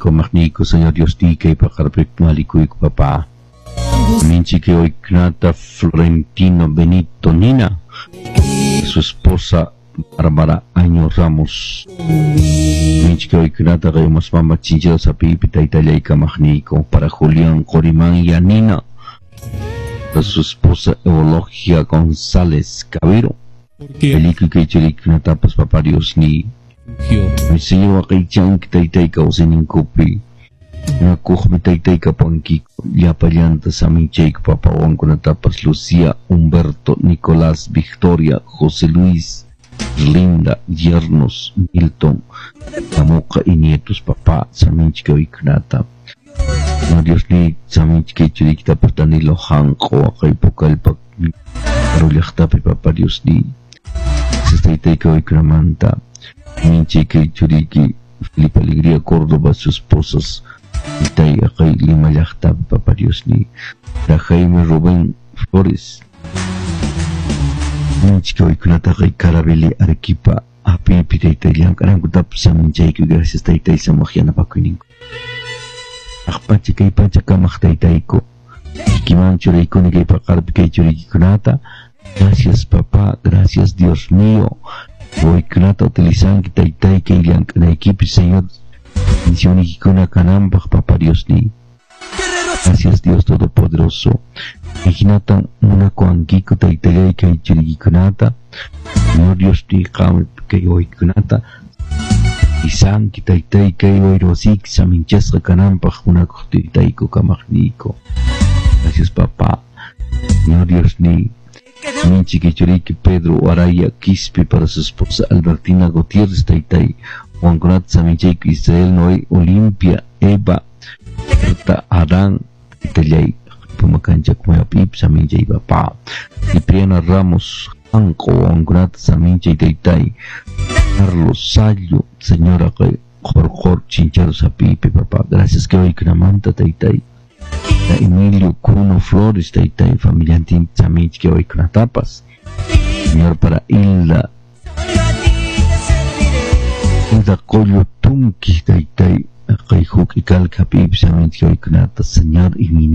Kamaqniyku, Señor Dios kay paqarpi malikuyku, papá. Minchiki Oiknata Florentino Benito Nina, su esposa Bárbara Año Ramos. Minchiki Oiknata Reymas Mama Chinchero Sapipi Taytallay Kamaqniyku, para Julián Corimán Yanina, su esposa Eologia González Cabero. Película que churikunatapas papá Dios ni. Mi señor waqaychanki taytay kawsayninkupi. Nakuqmi taytay kapanki llapallanta saminchayku papa wawankunatapas Lucía, Humberto, Nicolás, Victoria, José Luis, Linda, Yernos, Milton, Tamuqa y nietos papá saminchika uykunata. No Dios ni saminchika churikitapas Danilo Hanqo waqay pukalpa llaqtapi papá Dios ni. Taytay kawaykunamanta. Minchika churiki Felipe Alegría Córdoba, sus esposas Itay aqay Lima llaqtapi papá Dios ni. Jaime Rubén Flores. Minchika uykunata aqay Carabeli Arequipa apipi taytay llank'anankutapas saminchayku gracias taytay samaq yanapakuyninku. Aqpacha kay pacha kamaq taytayku. Kikiman churaykuni kay paqarpi kay churiykikunata. Gracias papá, gracias Dios mío. Waykunata utilizanki taytay kay llank'anaykipi Señor. Bendicionikikuna kananpaq papá Dios ni. Gracias Dios Todopoderoso. Ihinatan munakuwankiku taytallay kay churikikunata. Señor Dios ni qam kay waykunata. Isanki taytay kay wayrosiki saminchasqa kananpaq munakuq taytayku kamaqniyku. Gracias papá. Señor Dios ni. Minchiki churiki Pedro Araya Quispe para su esposa Albertina Gutiérrez taytay. Juan Saminchayku Israel Noé Olimpia Eva Berta Adán taytallay Pumacancha Kumapip Saminchay papá. Cipriana Ramos Anco Juan Saminchay taytay. Carlos Sayo señora Jorjor Chinchero Sapipe papá. Gracias que hoy Kramanta taytay. Emilio Cuno Flores taytay familiantin Saminch que hoy tapas. Señor para Hilda Hilda Collo Tunki taytay aqay huk ikalka pip Saminch que hoy Señor y mi